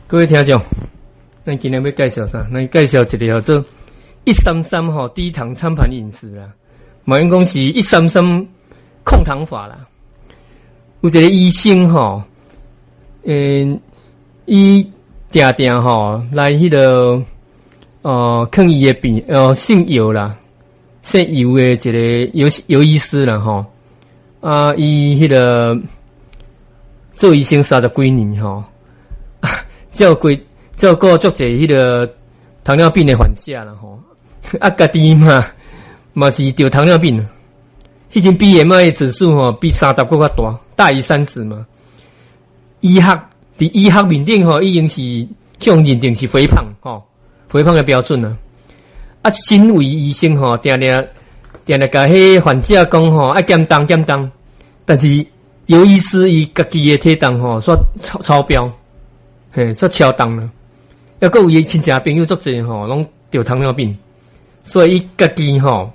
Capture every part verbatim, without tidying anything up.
各位聽眾，咱今日欲介紹啥？咱介紹一个叫做一三三吼低糖餐盤飲食啦，嘛應講是一三三控糖法啦。有一个醫生吼，嗯，伊定定吼來彼个哦，勸伊的病，哦，姓姚啦，姓姚的一个姚姚醫師啦吼，啊，伊彼个做醫生三十幾年吼，照顧照顧足濟彼个糖尿病的患者啦吼，啊，家己嘛嘛是著糖尿病，彼陣 B M I 指數吼比三十閣較大，大於三十嘛。醫學佇醫學面頂吼已經是向認定是肥胖吼，肥胖的標準啊。啊，身為醫生吼，定定定定共彼患者講吼，愛減重減重，但是姚醫師伊家己的體重吼，煞超超標，嘿，煞超重啦。抑閣有伊親戚朋友足濟吼，攏著糖尿病，所以伊家己吼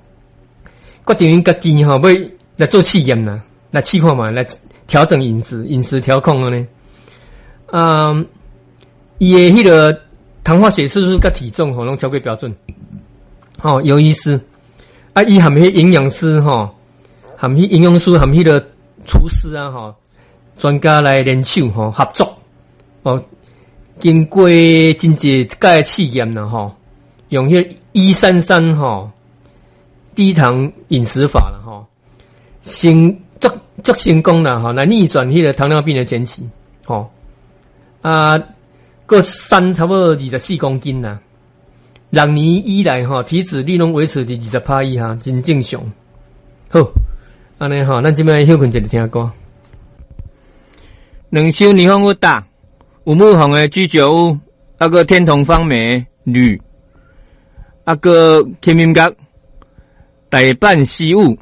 決定𪜶家己吼欲來做試驗啦，來試看覓，來調整飲食，飲食調控按呢。啊，伊的彼个糖化血色素佮體重吼攏超過標準。吼，姚醫師啊，伊含彼營養師吼，含彼營養師含彼个廚師啊吼，專家來聯手吼合作，哦，經過真濟擺試驗啦吼，用彼一三三吼低糖飲食法啦吼，成足足成功啦吼，來逆轉彼个糖尿病的前期，吼啊，閣瘦差不多二十四公斤啦。六年以來吼，體脂率攏維持佇二十趴以下，真正常。好，按呢吼，咱這擺歇睏一下聽歌。兩箱霓虹大，五木紅的居酒屋，啊閣天童方美鋁，啊閣金音閣，大阪西武。